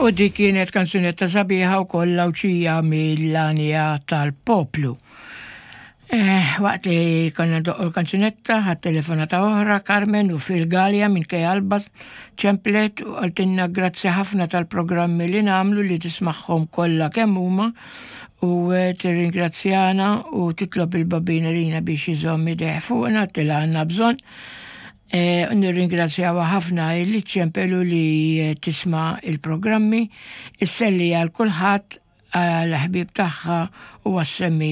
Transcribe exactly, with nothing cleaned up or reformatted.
U dik kienet kanzunetta sabiħa u kollha uċija mill-għanja tal-poplu. Eh, waqt li konna ndoqqu l-kanzunetta, ħadt telefonata oħra, Carmen u fil-Galja minn Alba ċemplet u qaltilna grazzi ħafna tal-programmi li nagħmlu, li tismagħhom kollha kemm huma, u eh, tirringrazzjana u titlob il-Bambin lina biex iżomm idejh fuqna til għandna bżonn. E, nirringrazzjaw ħafna li ċempelu, li tisma' il-programmi, isselli għal kulħadd, għal ħbib tagħha u għas-semmi.